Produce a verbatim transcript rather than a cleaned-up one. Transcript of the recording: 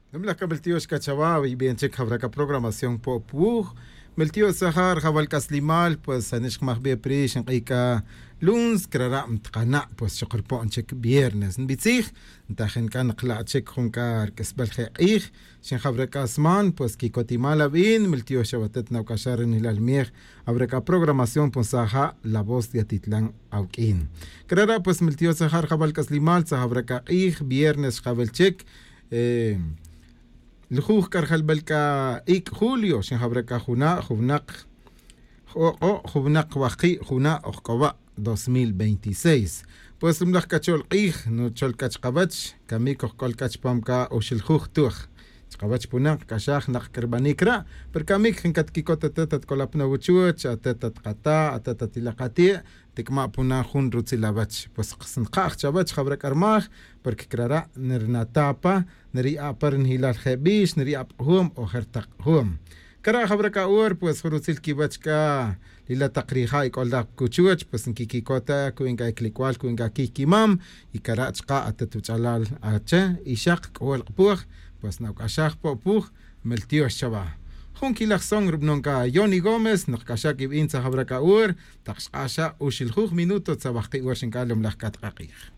Nimlaj c'a miltiox c'a chawa wi bien chic jawra c'a programación po' puwuj. Miltiox tzaja' rjawal c'aslimal pues anix jmaj bi pri xink'ij c'a lunes crara' mtkana' pues xok rpo'n chic viernes nbitzij. Ntajin c'a nkla' chic jun c'a rq'uisbal je' k'ij xin jawra c'a sman pues quicotimal abin miltiox chawa atet nawc'axaj rinilal miej. Jawra c'a programación pues tzaja' la voz de atitlan awq'uin. Crara' pues miltiox tzaja' rjawal c'aslimal tzaja' jawra c'a k'ij viernes xkawil chic. Lujuj c'a rjalbel c'a ic' julio xin jawra c'a juna' juwnak j'ok'o' juwnak wajki' juna' ojc'owa' dos mil veintiséis. Pues ri mlaj c'a chol k'ij nuchol c'a chkawech camic ojc'ol c'a chupam c'a uxiljuj tuj chkawech punak c'axaj nak c'a rbanic ra'. Pero camic jin catquicot atet atc'ol apna wuchuch atet atkata' atet atilak ati' tic'ma' puna jun rutzil awech pues nka'j chawech jawra c'a rmaj. Porque crara' nrnata' pa nriya' pa ri nijilal je' bix nriya' pa k'ujum o je' rtak k'ujum. Cara' jawra c'a hora pues jun rutzil quiwech c'a ri la tak rija' ic'ol laj pa cuchuch pues nquiquicot ta cu'in c'a iclic'ual cu'in c'a quiy quimam. Y cara' chka' atet wuch'alal ache y xak c'uhol k'apuj pues nawc'axaj po' puj. Meltiox chawa jun quilaj son rubanon c'a yoni gómez nokc'axaj q'uibin tza jawra c'a hora tak xk'ax xa uxiljuj minuto tza wajki' hora xinc'a lomlaj c'a tak k'ak'ij.